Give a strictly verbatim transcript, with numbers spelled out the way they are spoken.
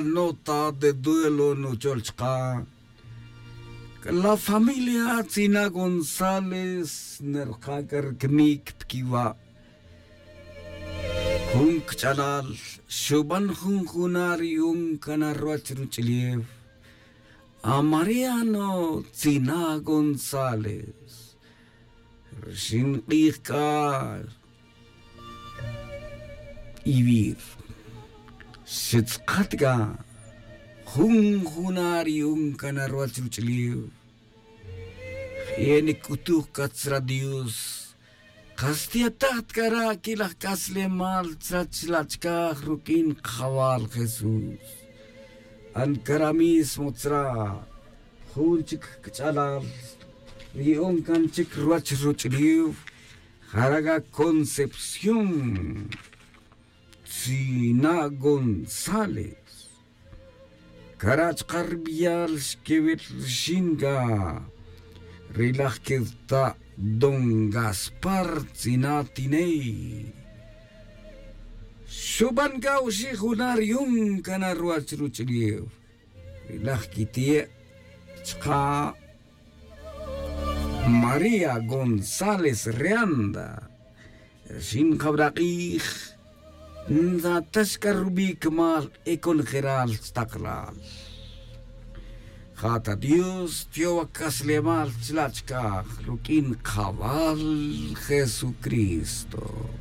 nota de duelo nuchol chka. La familia tzina gonzález nerka' c'a rcmic pquiva'. Jun cch'alal xuban jun juna' ri yu'un cana ruwach ruch'ulef. A mariano tzina gonzález rxin k'ij c'a ivir. Xetz'kat c'a jun juna' ri yu'un cana ruwach ruch'ulef. Je' nic'utuj c'a tzra dios. Kas tiyataj ta cara' quilaj c'aslemal tzra chila' chicaj ruq'uin kajawal jesús. An cara' mismo tzra jun chic cch'alal ri yu'un can chic ruwach ruch'ulef. Jara' c'a concepción tzina' gonzález. Cara' chka' ri biyal xquewil rixin c'a ri laj queta' don gaspar tzina' tiney. Xuban c'a oxi' juna' ri yu'un cana ruwach ruch'ulef ri laj quiti'e' chka' maría gonzález reanda. Rxin jabra' k'ij ntzatax c'a rubi' cumal e conojeral chtaklal. Ja ta dios tiyowa c'aslemal chila' chicaj ruq'uin kajawal jesucristo.